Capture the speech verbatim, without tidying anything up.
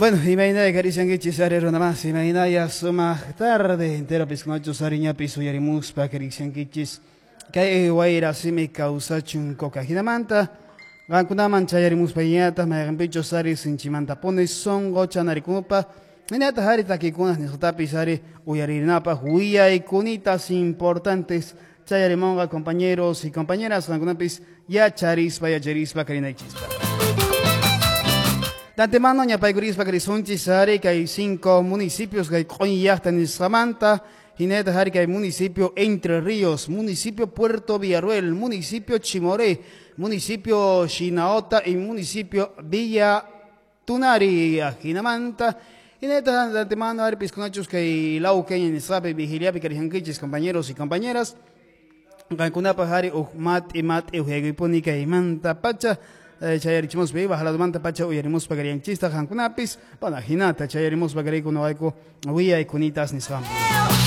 Bueno, imaynaya karishankichis ari runamasi, imaynaya sumaq tarde entero piskunachu sariñapis uyarimuspa karishankichis kay wayra simi kawsachun coca hinamanta qankunaman chayarimuspa ñataq mayqinpichus ari sinchimantapuni sunqu chanarikunupa hinataq ari takikunas nisqatapis ari uyarinapaq willaykunitas importantes chayarimunqa compañeros y compañeras qankunapis yacharispa yacharispa karinaychispa. De antemano ñapaykurispa karisunchis ari kay cinco municipios kay q'uñiyaqta nisqamanta hinataq ari kay municipio Entre Ríos, municipio Puerto Villarruel, municipio Chimoré, municipio Shinaota y municipio Villa Tunari. Hinamanta hinataq de antemano ari piskunachus kay Lauqueña nisqapi vigiliapi karihankichis compañeros y compañeras qankunapaq ari uj mat'i mat'i uqyaykuypuni kaymanta pacha chayarichimuspa bajaladumanta pacha uyarimuspa karianchista qankunapis bueno hinata chayarimuspa karayku noqayku willaykunitas nisqampi.